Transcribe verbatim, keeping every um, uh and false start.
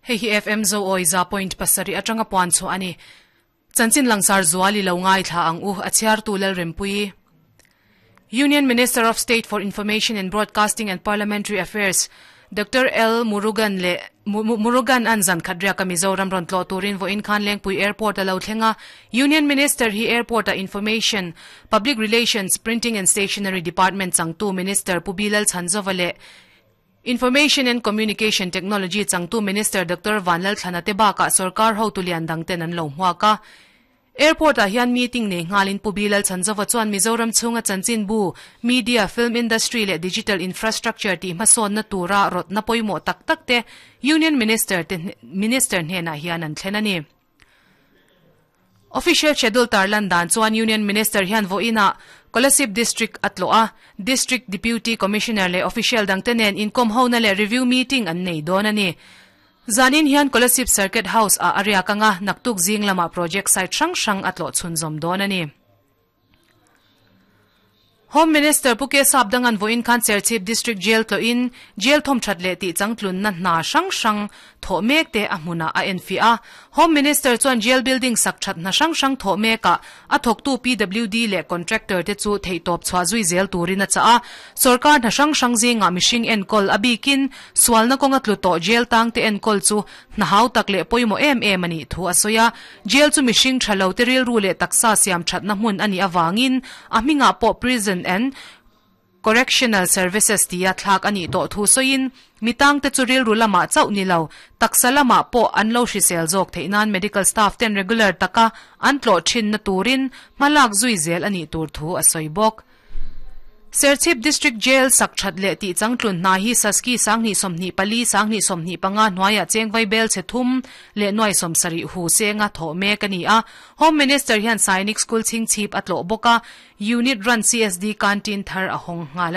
Hei hi F M zo oi za point pasarih atanga puan chu ani. Chanchin langsar zuali lo ngai thla ang u a chhiar tu lal rempui. Union Minister of State for Information and Broadcasting and Parliamentary Affairs Doctor L Murugan le Murugan an zan khatria ka Mizoram ron tlo turin vo in khan Lengpui Airport alo thlenga. Union Minister hi airport a Information, Public Relations, Printing and Stationery Department changtu Minister Pubilal Chanzovale Information and Communication Technology changtu Minister Doctor Vanlal Thlanate ka sarkar ho tulian dangten an lo hmuaka. Airport a hian meeting nei ngalin Pubilal Chanzova chuan Mizoram chunga chanchin bu media, film industry le digital infrastructure ti hmasawn na tura rot na pawimawh tak tak te Union Minister te Minister hnenah hian an thlen ani. Official schedule tarlan dan chuan Union Minister hian vo ina Kolasib District atloa District Deputy Commissioner le official dangtenen inkom hona le review meeting an nei don ani. Zanin hian Kolasib Circuit House a area kanga naktuk zing lama project site hrang hrang atlo chhunzawm dawn ani. Home Minister Puke Sapdangan voin khan Serchhip District Jail tlo in jail thom that le ti changtlun na hna hrang hrang tho mek te a hmuna a en fi a. Home Minister chuan jail building sak that na hrang hrang tho meka a thoktu P W D le contractor te chu theitop chwa zui zel turin a cha a. Sarkar na hrang hrang zinga mishing en kol abikin swalna konga tlu to jail tang te en kol chu na hau tak le poimo em em ani thu asoya. Jail chu mishing thalo te ril ru le taksa siam that na hmun ani awangin a hminga po prison and Correctional Services tia thlak ani to thu soin mitang te churil rulama chau ni lo taksalama po anlo hrisel jok theinan medical staff ten regular taka an tlo thin na turin malak zui zel ani tur thu asoi bok. Serchhip District Jail sak that le ti changtlun na hi saski sangni somni pali sangni somni panga hnuaia chengvai bel che thum le noi somsari hu senga tho me kani a. Home Minister hian Sainik School chingchip atlo boka unit run C S D canteen thar a hong ngala.